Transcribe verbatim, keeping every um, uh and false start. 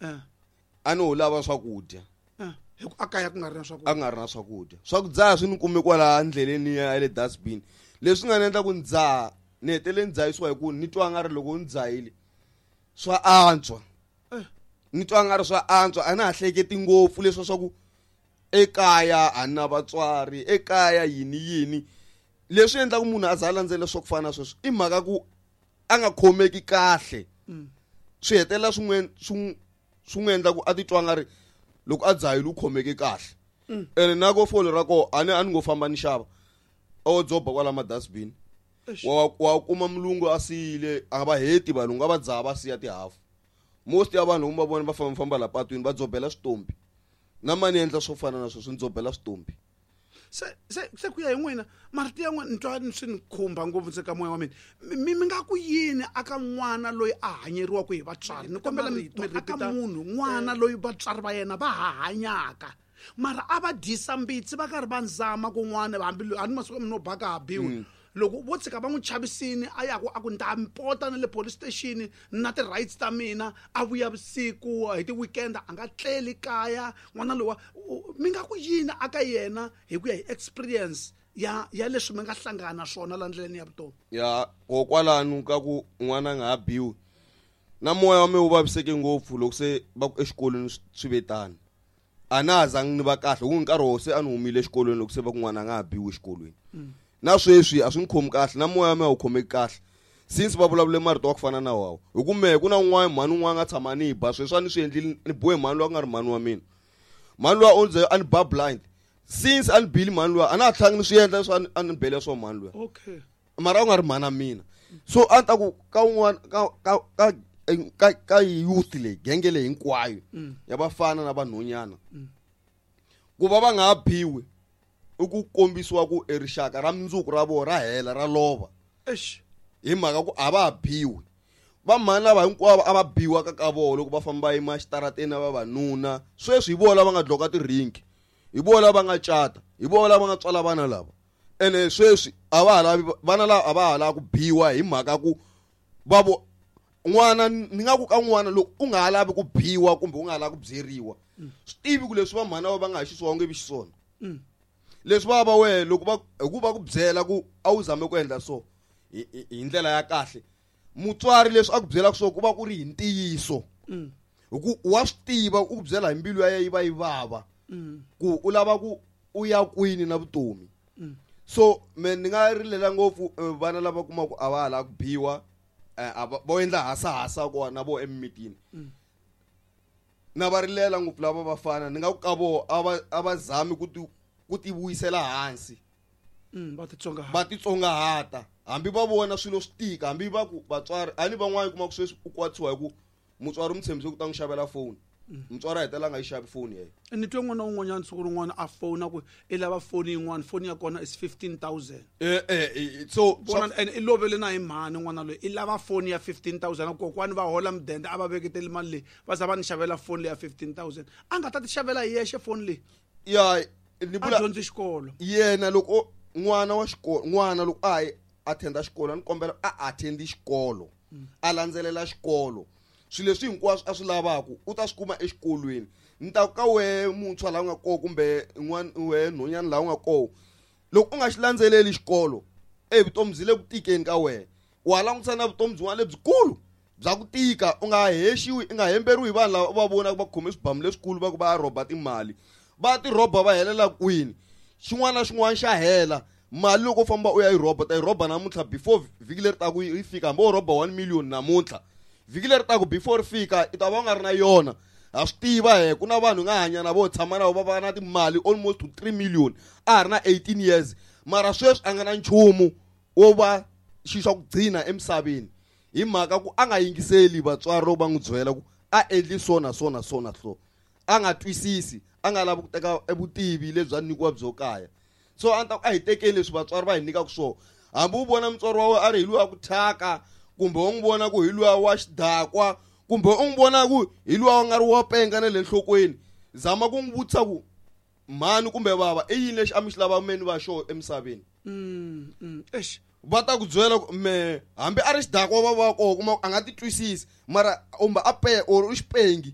Eh, A ni ho lava swakudya. eh. Hi ku a kaya ku nga ri na A swakudya. Nga ri na swakudya, swa ku dzaha swi ni kume kwala ndleleni ya le dustbin. Leswi nga ni endla ku ni dzaha, ni hetelele ni dzahisiwa hi ku ni twa nga ri loko ni dzahile swa antswa. Eh. Ni twa nga ri swa antswa, a na ha hleketi ngopfu leswa swa ku ekaya a na vatswari, ekaya yini yini. Leswi endlaku munhu a za a landzelela swa ku fana na sweswo i mhaka ku a nga khomeki kahle. Swi hetelela swi n'wi swi n'wi- swi n'wi endla ku a titwa nga ri loko a dzahile u khomeke kahle. Ene na ko fole ra koho, a ni a ni ngo famba ni xava, o dzoba kwala ma-dustbin. Eish. wa wa kuma mulungu a siyile, a va heti valungu a va dzaha va siya tihafu. Most ya vanhu va vona va famba famba la patwini va dzobela switompi, na mani endla swo fana na sweswo, ni dzobela switompi. se se se ku ya hi n'wina, marito ya n'wina ni twa swi ni khumba ngopfu nse ka moya wa mina. Mi mi mi nga ku yini aka n'wana loyi a hanyeriwaka hi vatswari? Ni kombela mi Marito, mi aka repeat-a. munhu n'wana loyi vatswari va yena va ha hanyaka, mara a va dyisa mbitsi, va karhi va nzama kun'wana, hambi a ni masiku no baka ha biwi, loko vo tshika va n'wi chavisini, a yaku a ku ni ta pota na le police station na ti-rights ta mina, a vuya vusiku hi ti-weekend, a nga tleli kaya, n'wana lowa u- mi nga ku yini aka yena hi ku ya hi experience ya ya leswi mi nga hlangana na swona la ndleleni ya vutomi? Ya, kokwalano ka ku n'wana a nga ha biwi, na moya wa mina wu vaviseke ngopfu loko se va ku exikolweni swi- swi ve tani. A na ha zangi ni va kahle hi ku nkarhi wo se a ni humile exikolweni loko se va ku n'wana a nga ha biwi exikolweni. Na sweswi a swi ni khomi kahle, na moya wa mina a wu khomeki kahle since va vulavule marito wa ku fana na wawo, hi ku mehe ku na un'wana mhani un'wana a nga tshama ni ba. Sweswi a ni swi endlile, ni bohe mhani loyi a ku nga ri mhani wa mina. Mhani luya u ze a ni ba blind. Since a ni bile mhani luya, a na ha tlhangi ni swi endla leswi a ni- a ni bele swo mhani luya. Okay mara a ku nga ri mhana mina. So a ni ta ku ka un'wana ka ka ka ka ka youth leyi, genge leyi hinkwayo ya vafana na vanhonyana, ku va va nga ha biwi i ku kombisiwa ku e rixaka ra mundzuku ra vona ra hela, ra lova. Eish. Hi mhaka ku a va ha biwi. Vamhani lava hinkwavo a va biwa ka ka vona loko va famba va yima xitarateni na vavanuna, sweswi hi vona lava nga dloka tirinki, hi vona lava nga cata, hi vona lava nga tswala vana lava. Ene sweswi a va ha lavi vana lava, a va ha lavi ku biwa hi mhaka ku va vo n'wana. Ni nga ku ka n'wana, loko u nga ha lavi ku biwa kumbe u nga ha lavi ku byeriwa, swi tivi ku leswi va mhana va va nga ha xiswona, u nge vi xiswona leswi va va wehe loko va hi ku va ku byela ku a wu zame ku endla so hi hi- hi ndlela ya kahle. Mutswari leswi a ku byelaka so ku va ku ri hi ntiyiso, hi ku wa swi tiva u ku byela hi mbilu ya yena yi va yi vava ku u lava ku u ya kwini na vutomi. So me ni nga rilela ngopfu eh, vana lava kumaka a va ha lava ku biwa, eh, a va vo endla hasahasa kona na vo emimitini. Na va rilela ngopfu lava vafana. Ni nga ku ka voho, a va a va zami ku ti ku ti vuyisela hansi. Mm, va titsongahata. Va titsongahata, hambi va vona swilo swi tika, hambi va ku vatswari a ni van'wani kuma ku sweswi u kwatisiwa hi ku mutswari u mu tshembise ku ta n'wi xavela foni, mutswari a hetelela a nga yi xavi foni yena. Ni twe n'wana un'wanyana siku rin'wana a fona ku i lava foni yin'wana, foni ya kona is fifteen thousand. eh eh eh, so Vona, and i lovele na hi mhani n'wana loyi, i lava foni ya fifteen thousand. Kokwani va hola mudende, a va veketeli mali leyi, va za va ni xavela foni leyi ya fifteen thousand, a nga ta ti xavela hi yexe foni leyi. Ya, ni A vula dyondzi xikolo. Yena loko n'wana wa xikolo, n'wana loko a yi attenda xikolo, a ni kombela a attendi xikolo, a landzelela xikolo. Swilo leswi hinkwaswo a swi lavaka u ta swi kuma exikolweni. Ni ta ku ka wehe muntshwa laha u nga koho, kumbe n'wana wehe nhonyana laha u nga koho, loko u nga xi landzeleli xikolo, e vutomi byi le ku tikeni ka wehe. Wa langutisa na vutomi byin'wana lebyikulu bya ku tika. U nga hexiwi, i nga hemberiwi hi vanhu lava u va vonaka va khome swibamu leswikulu, va ku va ya rhoba timali, va ti rhoba va helela kwini? Xin'wana na xin'wana xa hela. Mali loko u famba u ya yi rhoba, ta yi rhoba namuntlha, before vhiki leri taku yi fika, hambi wo rhoba one million namuntlha, vhiki leri taku before ri fika i ta va u nga ri na yona. Ha swi tiva he ku na vanhu hi nga hanya na vo, tshama na vo, va va na timali almost to three million a ha ri na eighteen years, mara sweswi a nga na nchumu wo va xi xa ku gcina emisaveni, hi mhaka ku a nga yingiseli vatswari loko va n'wi byela ku a endli so na so na so na so. A nga twisisi, a nga lavi ku teka vutivi lebyi a nyikiwa byo kaya. So a ni ta ku a hi tekeni leswi vatswari va hi nyikaka swona. Hambi u vona mutswari wa wena a ri hi luya ku thyaka, kumbe u n'wi vona ku hi luya wa xidakwa, kumbe u n'wi vona ku hi luya wa nga ri wa penga na le nhlokweni, zama ku n'wi vutisa ku mhani kumbe bava, i yini lexi a mi xi lava me ni va xo emisaveni? Mm, mm. Eish. Va ta ku byela ku me hambi a ri xidakwa va va koho, kuma a nga ti twisisi, mara kumbe a pe or u xipengi.